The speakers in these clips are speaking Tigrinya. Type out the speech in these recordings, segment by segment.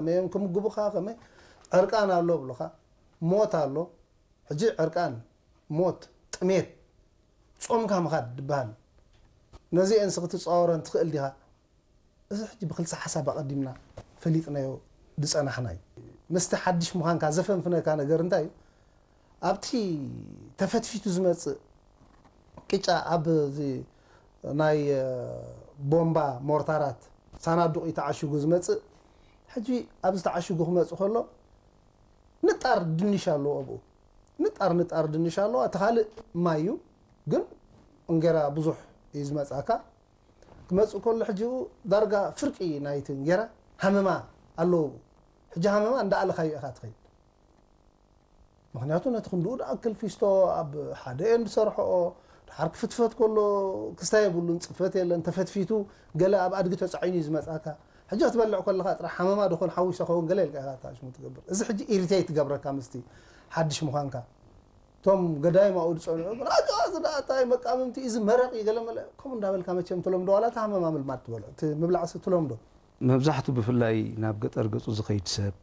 ከመይ እዮም ክምግቡኻ፣ ከመይ ዕርቃን ኣሎ ብሉኻ፣ ሞት ኣሎ። ሕጂ ዕርቃን፣ ሞት፣ ጥሜት፣ ጾምካ ምኻድ ዝበሃል፣ ነዚአንስ ክትጻወረን ትኽእል ዲኻ? እዚ ሕጂ ብክልተ ሓሳብ ኣቐዲምና ፈሊጥናዮ ዝጸናሕና እዩ። ምስቲ ሓድሽ ምዃንካ ዘፈንፍነካ ነገር እንታይ እዩ? ኣብቲ ተፈትፊቱ ዝመጽእ ቅጫ፣ ኣብ እዚ ናይ ቦምባ ሞርታራት ሳናዱቕ እዩ ተዓሽጉ ዝመጽእ። ሕጂ ኣብዚ ተዓሽጉ ክመጽእ ከሎ ንጣር ድንሽ ኣለዎ ኣብኡ። ንጣር ንጣር ድንሽ ኣለዎ። እቲ ካልእ ማይ እዩ፣ ግን እንጌራ ብዙሕ እዩ ዝመጽኣካ። ክመጽእ ከሎ ሕጂ ዳርጋ ፍርቂ ናይቲ እንጌራ ሃመማ ኣለዎ ኣብኡ። ሕጂ ሃመማ እንዳኣለኻዮ ኢኻ ትኸይድ። ምኽንያቱ ነቲ ክንድኡ ደኣ ክል ፊስቶ ኣብ ሓደ እየን ዝሰርሕኦ። ድሓር ክፍትፈት ከሎ ክስታይ የብሉን፣ ጽፈት የለን፣ ተፈትፊቱ ገለ ኣብ ኣድጊ ተጻዒኑ እዩ ዝመጽኣካ። ሕጂ ክትበልዕ ከለኻ ጥራሕ ሃመማ ድኾን ሓዊሰ ኸውን ገለ ኢልካ ኢኻ ኣታሽሙ ትገብር። እዚ ሕጂ ኢሪቴት ትገብረካ ምስቲ ሓድሽ ምዃንካ። እቶም ገዳይም ኣብኡ ዝጸንዑ ግን፣ "ኣጆ፣ እዚ ደኣ እንታይ መቃምምቲ እዩ፣ እዚ መረቕ እዩ" ገለ መለ ከምኡ እንዳበልካ መቸም ትለምዶ፣ ዋላ እቲ ሃመማ ምልማድ ትበሎ፣ እቲ ምብላዕሲ ትለምዶ። መብዛሕቱ ብፍላይ ናብ ገጠር ገጹ ዝኸይድ ሰብ፣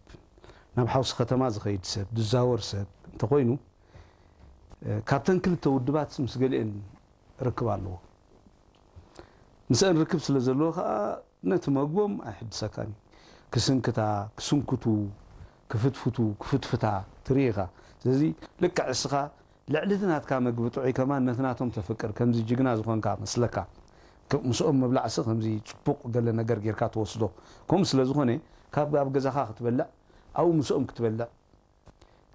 ናብ ሓውሲ ከተማ ዝኸይድ ሰብ፣ ዝዛወር ሰብ እንተኾይኑ፣ እ፣ ካብተን ክልተ ውድባት ምስ ገሊአን ርክብ ኣለዎ። ምስአን ርክብ ስለ ዘለዎ ኸኣ ነቲ መግቦም ኣይሕድሰካን እዩ። ክስንክታ፣ ክስንክቱ፣ ክፍትፍቱ፣ ክፍትፍታ ትርኢ ኢኻ። ስለዚ ልክዕ እስኻ ልዕሊ እቲ ናትካ መግቢ ጥዑይ ከማን ነቲ ናቶም ተፍቅር፣ ከምዚ ጅግና ዝኾንካ መስለካ። ክ-፣ ምስኦም ምብላዕሲ ከምዚ ጽቡቕ ገለ ነገር ጌርካ ትወስዶ። ከምኡ ስለ ዝኾነ ካብ ኣብ ገዛኻ ክትበልዕ፣ ኣብኡ ምስኦም ክትበልዕ፣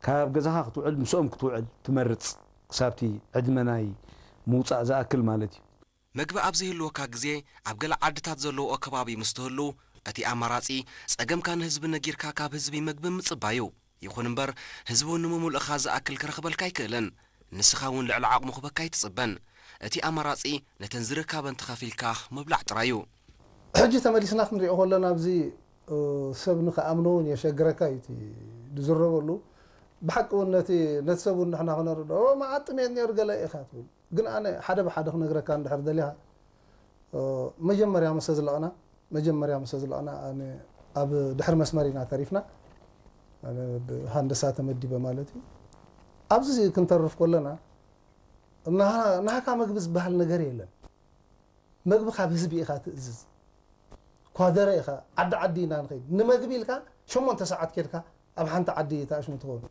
ካብ ገዛኻ ክትውዕል ምስኦም ክትውዕል ትመርጽ፣ ክሳብቲ ዕድመ ናይ ምውጻእ ዝኣክል ማለት እዩ። መግቢ ኣብ ዘይህልወካ ግዜ ኣብ ገለ ዓድታት ዘለውኦ ከባቢ ምስ ትህሉ፣ እቲ ኣማራጺ ጸገምካ ንህዝቢ ነጊርካ ካብ ህዝቢ መግቢ ምጽባይ እዩ። ይኹን እምበር፣ ህዝቢ እውን ንምምልእኻ ዝኣክል ክረኽበልካ ኣይክእልን። ንስኻ እውን ልዕሊ ዓቕሙ ክበካ ኣይትጽበን። እቲ ኣማራጺ ነተን ዝርከበን ተኸፊልካ ምብላዕ ጥራይ እዩ። ሕጂ ተመሊስና ክንሪኦ ከለና ኣብዚ፣ እ፣ ሰብ ንኽኣምኖ እውን የሸግረካ እዩ እቲ ዝዝረበሉ። ብሓቂ እውን ነቲ፣ ነቲ ሰብ እውን ንሕና ክነርድኦ፣ "ኦ፣ መዓት ጥሜት ነይሩ ገለ ኢኻ" ትብል። ግን ኣነ ሓደ ብሓደ ክነግረካ እንድሕር ደሊኻ፣ እ፣ መጀመርያ ምስ ኣዝለቕና፣ መጀመርያ ምስ ኣዝለቕና ኣነ ኣብ ድሕሪ መስመር ኢና ተሪፍና። ኣነ ብሃንደሳ ተመዲበ ማለት እዩ። ኣብዚ ክንተርፍ ከለና፣ ናሃ-፣ ናሃካ መግቢ ዝበሃል ነገር የለን። መግቢ ካብ ህዝቢ ኢኻ ትእዝዝ። ኳደረ ኢኻ፣ ዓዲ ዓዲ ኢና ንኸይድ። ንመግቢ ኢልካ ሸሞንተ ሰዓት ኬድካ ኣብ ሓንቲ ዓዲ ተኣሽሙ ትኸውን።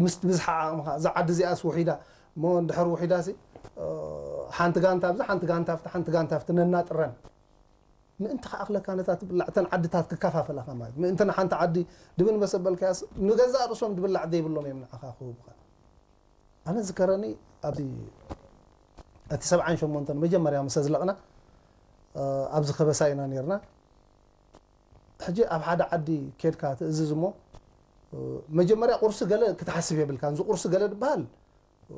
ምስ ብዝሓ ዓቕምኻ፣ እዛ ዓዲ እዚኣስ ውሒዳ፣ እሞ እንድሕር ውሒዳሲ፣ እ፣ ሓንቲ ጋንታ ኣብዚ፣ ሓንቲ ጋንታ ኣብቲ፣ ሓንቲ ጋንታ ኣብቲ ነናጥረን። ምእንቲ ክኣኽለካ ነታ ትብላዕ፣ እተን ዓድታት ክከፋፈላኻ ማለት። ምእንቲ ንሓንቲ ዓዲ ድብን መሰበልካያስ፣ ንገዛእ ርእሶም ድብላዕ ዘይብሎም እዮም ንዓኻ ክህቡኻ። ኣነ ዝከረኒ ኣብዚ እቲ ሰብዓን ሸሞንተን መጀመርያ ምስ ኣዝለቕና፣ እ፣ ኣብዚ ከበሳ ኢና ነይርና። ሕጂ ኣብ ሓደ ዓዲ ኬድካ ትእዝዝ እሞ፣ እ፣ መጀመርያ ቁርሲ ገለ ክትሓስብ የብልካን። እዚ ቁርሲ ገለ ድበሃል፣ እ፣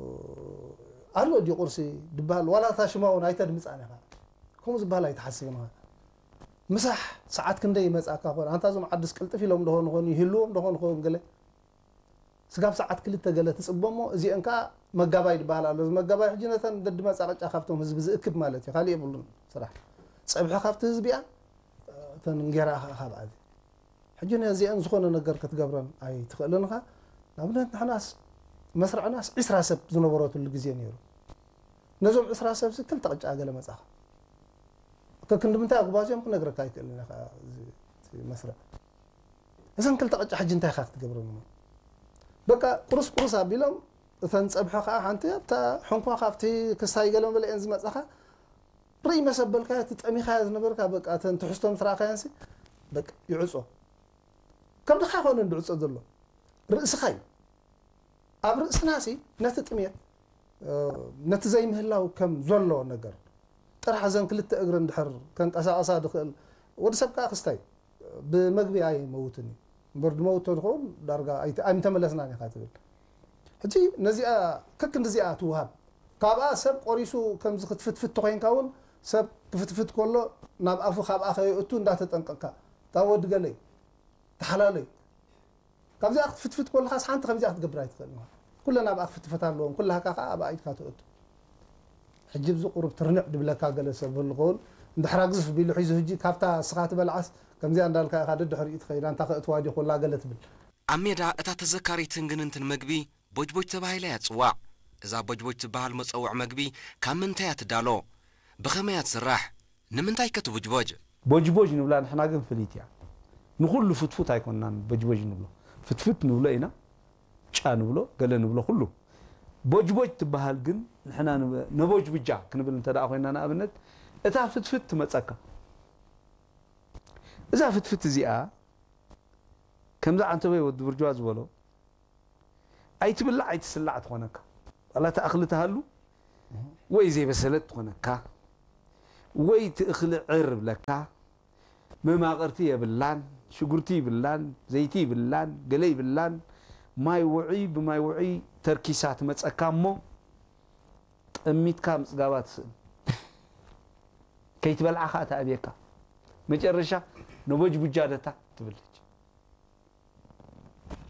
ኣሎ ድዩ ቁርሲ ድበሃል፣ ዋላ እታ ሽማ እውን ኣይተድምጻን ኢኻ። ከምኡ ዝበሃል ኣይትሓስብን ኢኻ። ምሳሕ ሰዓት ክንደይ ይመጽኣካ ኮን? ኣንታ እዞም ዓድስ ቅልጥፍ ኢሎም ደኾን ይኾኑ፣ ይህልዎም ደኾን ይኸውን ገለ። ስጋብ ሰዓት ክልተ ገለ ትጽበ እሞ፣ እዚአን ከኣ መጋባይ ዝበሃል ኣሎ። እዚ መጋባይ ሕጂ ነተን ደድመጻ ቅጫ ካብቶም ህዝቢ ዝእክብ ማለት እዩ። ካልእ የብሉን ስራሕ። ጸብሒ ካብቲ ህዝቢ እያ፣ እተን እንጌራ ከኣ ካብኣ። ሕጂ ነዚአን ዝኾነ ነገር ክትገብረን ኣይትኽእልን ኢኻ። ንኣብነት ንሕናስ መስርዕናስ ዒስራ ሰብ ዝነበረትሉ ግዜ ነይሩ። ነዞም ዒስራ ሰብሲ ክልተ ቅጫ ገለ መጻኻ። ከክንዲ ምንታይ ኣጉባዝዮም ክነግረካ ኣይክእልን እየ ከኣ እዚ፣ እቲ መስርዕ። እዘን ክልተ ቅጫ ሕጂ እንታይ ኢኻ ክትገብረን እሞ? በቃ ቁርስ ቁርስ ኣቢሎም፣ እተን ጸብሒ ከኣ ሓንቲ ኣብታ ሕንኳ ካብቲ ክስታይ ገለ መለ እየን ዝመጻኻ። ርእይ መሰበልካዮ፣ እቲ ጠሚኻዮ ዝነበርካ፣ በቃ እተን ትሕዝቶ ምስ ረኣኻየንሲ፣ በቃ ይዕጾ። ከብድኻ ኣይኮነን ዝዕጾ ዘሎ፣ ርእስኻ እዩ። ኣብ ርእስናሲ ነቲ ጥሜት፣ እ፣ ነቲ ዘይምህላው ከም ዘሎ ነገር፣ ጥራሕ እዘን ክልተ እግሪ እንድሕር ከንቀሳቐሳ ድኽእል፣ ወዲ ሰብ ከኣ ክስታይ፣ ብመግቢ ኣይመውትን እዩ። እምበር ድመውት ተዝኸውን ዳርጋ ኣይተ-፣ ኣይምተመለስናን ኢኻ ትብል። ሕጂ ነዚኣ፣ ከክንዲዚኣ ትውሃብ። ካብኣ ሰብ ቆሪሱ ከምዚ ክትፍትፍት ተኾይንካ እውን፣ ሰብ ክፍትፍት ከሎ ናብ ኣፉ ካብኣ ከየእቱ እንዳተጠንቀቕካ፣ እታ ወዲ ገለይ፣ ተሓላለዩ። ካብዚኣ ክትፍትፍት ከለኻስ ሓንቲ ከምዚኣ ክትገብር ኣይትኽእልን ኢኻ። ኩለን ኣብኣ ክፍትፈት ኣለወን፣ ኩላህካ ከኣ ኣብ ኣኢድካ ተእቱ። ሕጂ ብዚ ቁሩብ ትርንዕ ድብለካ ገለ ሰብ ህሉ ኸውን፣ እንድሕራ ግዝፍ ቢሉ ሒዙ፣ ሕጂ ካብታ እስኻ ትበልዓስ ከምዚኣ እንዳልካ ኢኻ ደድሕሪኡ ትኸይዳ፣ እንታ ከእትዋ ድዩ ኮላ ገለ ትብል። ኣብ ሜዳ እታ ተዘካሪትን ግንንትን መግቢ ቦጅቦጅ ተባሂላ እያ ትጽዋዕ። እዛ ቦጅቦጅ ትበሃል መጸውዕ መግቢ ካብ ምንታይ እያ ትዳሎ? ብኸመይ እያ ትስራሕ? ንምንታይ ከ ትቡጅቦጅ? ቦጅቦጅ ንብላ ንሕና ግን ፍልይቲ እያ። ንኹሉ ፍትፉት ኣይኮንናን ቦጅቦጅ ንብሎ። ፍትፍት ንብሎ ኢና፣ ጫ ንብሎ፣ ገለ ንብሎ ኩሉ። ቦጅቦጅ ትበሃል ግን ንሕና ንበ-፣ ነቦጅብጃ ክንብል እንተ ደኣ ኮይና ንኣብነት፣ እታ ፍትፍት ትመጸካ። እዛ ፍትፍት እዚኣ ከምዛ ዓንተበይ ወዲ ብርጅዋ ዝበሎ ኣይትብላዕ ኣይትስላዕ ትኾነካ። ዋላ እታ እኽሊ ትሃሉ ወይ ዘይበሰለት ትኾነካ፣ ወይ እቲ እኽሊ ዕር ብለካ፣ መማቕርቲ የብላን፣ ሽጉርቲ ይብላን፣ ዘይቲ ይብላን፣ ገለ ይብላን። ማይ ውዑይ ብማይ ውዑይ ተርኪሳ ትመጸካ እሞ ጠሚትካ ምጽጋባ ትስእን። ከይትበልዓ ከኣ ትኣብየካ። መጨረሻ ነቦጅቡጃ ደታ ትብል።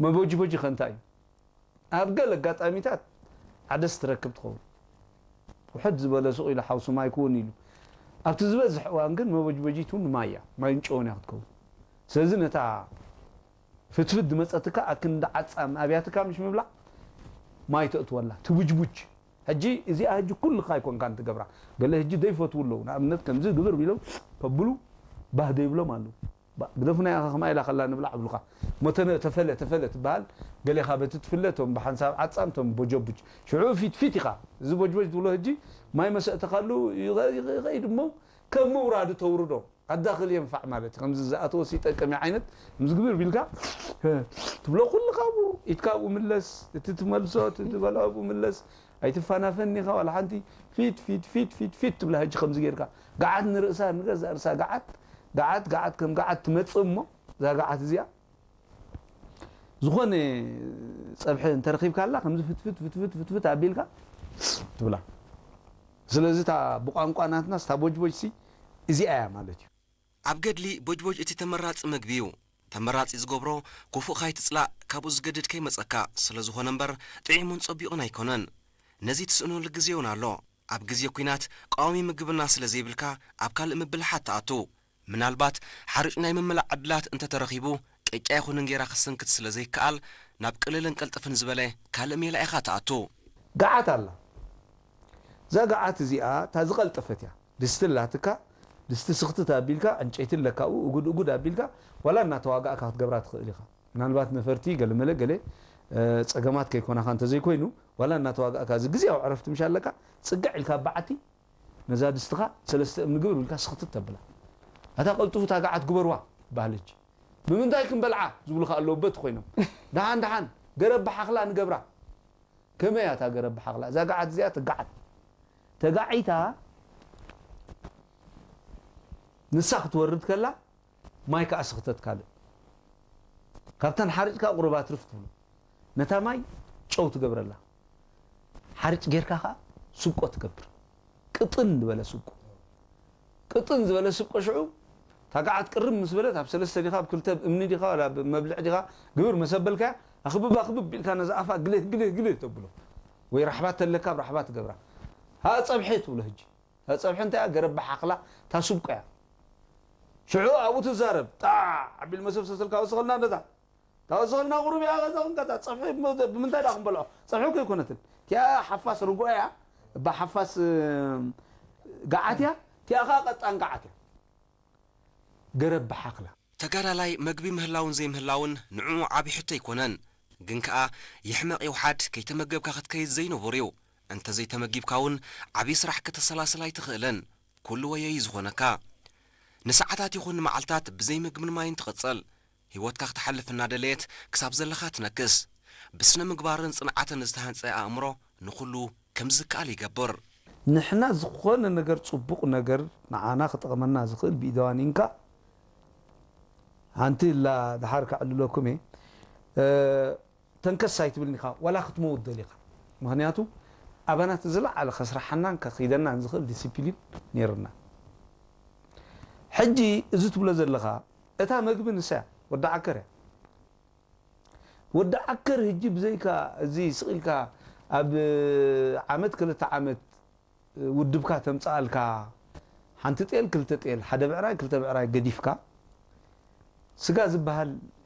መቦጅቦጂ ከ እንታይ እዩ? ኣብ ገለ ኣጋጣሚታት ዓደስ ትረክብ ትኸውን። ውሕድ ዝበለ ሱቕ ኢሉ ሓውሲ ማይ ክውን ኢሉ። ኣብቲ ዝበዝሕ እዋን ግን መቦጅቦጂት እውን ማይ እያ፣ ማይን ጨውን እያ ክትከውን። ስለዚ ነታ ፍትፍት ዝመጸትካ ኣክንዲ ዓጻም ኣብያትካ ምሽ ምብላዕ ማይ ተእትወላ፣ ትቡጅቡጅ። ሕጂ እዚኣ ሕጂ ኩልኻ ኣይኮንካን ትገብራ። ገለ ሕጂ ዘይፈትዉ ኣለዉ። ንኣብነት ከምዚ ግብር ቢሎም ከብሉ ባህ ዘይብሎም ኣለዉ። ባ-፣ ግደፉና ኢኻ ከማይ ኢላ ከላ ንብላዕ ብሉኻ። እሞ ተነ-፣ ተፈለ፣ ተፈለ ትበሃል። ገሌኻ በቲ ትፍለ፣ እቶም ብሓንሳብ ዓጻም፣ እቶም ቦጀቡጅ። ሽዑ ፊት ፊት ኢኻ። እዚ ቦጅቦጅ ትብሎ ሕጂ ማይ መሰእተኻሉ ይኸ-፣ ይኸ-፣ ይኸይድ እሞ ከም ምውራዱ ተውርዶ። ኣዳኽል የንፋዕ ማለት እዩ። ከምዚ ዝኣተወስ ይጠቅም እዩ ዓይነት፣ ከምዚ ግብር ቢልካ ትብሎ ኩልኻ ኣብኡ፣ ኢድካ ኣብኡ ምለስ፣ እቲ ትመልሶ፣ እቲ ትበልዖ ኣብኡ ምለስ። ኣይትፋናፈን ኢኻ ዋላ ሓንቲ። ፊት፣ ፊት፣ ፊት፣ ፊት፣ ፊት ትብላ ሕጂ ከምዚ ጌርካ። ገዓት ንርእሳ፣ ንገዛእ ርእሳ ገዓት፣ ገዓት፣ ገዓት ከም ገዓት ትመጽእ እሞ፣ እዛ ገዓት እዚኣ ዝኾነ ጸብሒ እንተረኺብካላ፣ ከምዚ ፍትፍት፣ ፍትፍት፣ ፍትፍት ኣቢልካ ትብላ። ስለዚ እታ ብቋንቋ ናትናስ እታ ቦጅቦጅሲ እዚኣ እያ ማለት እዩ። ኣብ ገድሊ ቦጅቦጅ እቲ ተመራጺ መግቢ እዩ። ተመራጺ ዝገብሮ፣ ክፉእ ካይትጽላእ፣ ካብኡ ዝገድድ ከይመጸካ ስለ ዝኾነ እምበር፣ ጥዒሙን ጸቢቑን ኣይኮነን። ነዚ ትስእነሉ ግዜ እውን ኣሎ። ኣብ ግዜ ኲናት ቀዋሚ ምግብና ስለ ዘይብልካ፣ ኣብ ካልእ ምብልሓት ትኣቱ። ምናልባት ሓርጭ ናይ ምምላእ ዕድላት እንተተረኺቡ፣ ቅጫ ይኹን እንጌራ ክትስንክት ስለ ዘይከኣል፣ ናብ ቅልልን ቅልጥፍን ዝበለ ካልእ ሜላ ኢኻ ትኣቱ። ገዓት ኣላ። እዛ ገዓት እዚኣ እታ ዝቐልጠፈት እያ። ድስቲ ኣላትካ፣ ድስቲ ስኽትት ኣቢልካ፣ ዕንጨይቲ ኣለካ ኣብኡ፣ እጉድ እጉድ ኣቢልካ፣ ዋላ እናተዋጋእካ ክትገብራ ትኽእል ኢኻ። ምናልባት ነፈርቲ፣ ገለመለ፣ ገለ፣ እ፣ ጸገማት ከይኮናኻ እንተዘይኮይኑ፣ ዋላ እናተዋጋእካ፣ እዚ ግዜያዊ ዕረፍቲ ምሽ ኣለካ፣ ጽግዕ ኢልካ ኣብ በዓቲ፣ ነዛ ድስትኻ ሰለስተ እምኒ ግብር ኢልካ ስኽትት ተብላ። ኣታ ቀልጥፉ እታ ገዓት ግበርዋ፣ በሃለች። ብምንታይ ክንበልዓ? ዝብሉኻ ኣለዉ በት ኮይኖም። ደሓን፣ ደሓን፣ ገረብ ብሓኽላ ንገብራ። ከመይ እያ እታ ገረብ ብሓኽላ? እዛ ገዓት እዚኣ ትገዓት። ተጋዒታ ንሳ ክትወርድ ከላ፣ ማይ ከኣ ስኽተት ካልእ። ካብተን ሓርጭ ከኣ ቁሩብ ኣትርፍ ትብሉ። ነታ ማይ ጨው ትገብረላ። ሓርጭ ጌርካ ከኣ ስብቆ ትገብር። ቅጥን ዝበለ ስብቆ። ቅጥን ዝበለ ስብቆ ሽዑ፣ እታ ገዓት ቅርብ ምስ በለት፣ ኣብ ሰለስተ ዲኻ፣ ኣብ ክልተ እምኒ ዲኻ፣ ዋላ ኣብ መብልዕ ዲኻ፣ ግብር መሰበልካያ፣ ኣኽብብ፣ ኣኽብብ ኢልካ ነዛ ኣፋ ግልህ፣ ግልህ፣ ግልህ ተብሎ። ወይ ራሕባ ተለካ፣ ኣብ ራሕባ ትገብራ። ሃ ጸብሒ ትብሎ ሕጂ። እታ ጸብሒ እንታይ እያ? ገረብ ብሓኽላ፣ እታ ስብቆ እያ። ሽዑ ኣብኡ ትዛረብ። ጣዕ ኣቢል መሰብሰብ ስልካ ወስኸልና ነዛ። እታ ወስኸልና ቁሩብ እያ፣ ከዛ ክንቀጣ። ጸብሒ ብ-፣ ብምንታይ ደኣ ክንበልዖ? ጸብሒ እኮ ኣይኮነትን። እቲኣ ሓፋስ ርጉኦ እያ። እባ ሓፋስ፣ እ፣ ገዓት እያ። እቲኣ ኸኣ ቀጣን ገዓት እያ። ገረብ ብሓኽላ። ተጋዳላይ መግቢ ምህላውን ዘይምህላውን ንዕኡ ዓቢ ሕቶ ኣይኮነን። ግን ከኣ ይሕመቕ ይውሓድ ከይተመገብካ ክትከይድ ዘይንቡር እዩ። እንተ ዘይተመጊብካ እውን ዓቢ ስራሕ ከተሰላስል ኣይትኽእልን። ኩሉ ወዮ እዩ ዝኾነካ። ንሰዓታት ይኹን ንመዓልታት ብዘይ ምግብን ማይን ትቕጽል። ህይወትካ ክትሓልፍ እናደለየት ክሳብ ዘለኻ ትነክስ። ብስነ ምግባርን ጽንዓትን ዝተሃንጸ ኣእምሮ ንኹሉ ከም ዝከኣል ይገብር። ንሕና ዝኾነ ነገር፣ ጽቡቕ ነገር ንዓና ክጠቕመና ዝኽእል ብኢደዋኒንካ ሓንቲ ኢላ ድሓር ከዕልለኩም እየ። እ፣ ተንከስ ኣይትብልን ኢኻ፣ ዋላ ክትመውት ደሊኻ። ምኽንያቱ፣ ኣባና እቲ ዝለዓለ ከስርሓናን ከኺደናን ዝኽእል ዲሲፕሊን ነይርና። ሕጂ እዚ ትብሎ ዘለኻ፣ እታ መግቢ ንሳ እያ፣ ወዲ ዓከር እያ። ወዲ ዓከር ሕጂ ብዘይካ እዚ ስቕ ኢልካ ኣብ ዓመት ክልተ ዓመት ውድብካ ተምጽኣልካ፣ ኣንቲ ጤል ክልተ ጤል ሓደ ብዕራይ ክልተ ብዕራይ ገዲፍካ ስጋ ዝበሃል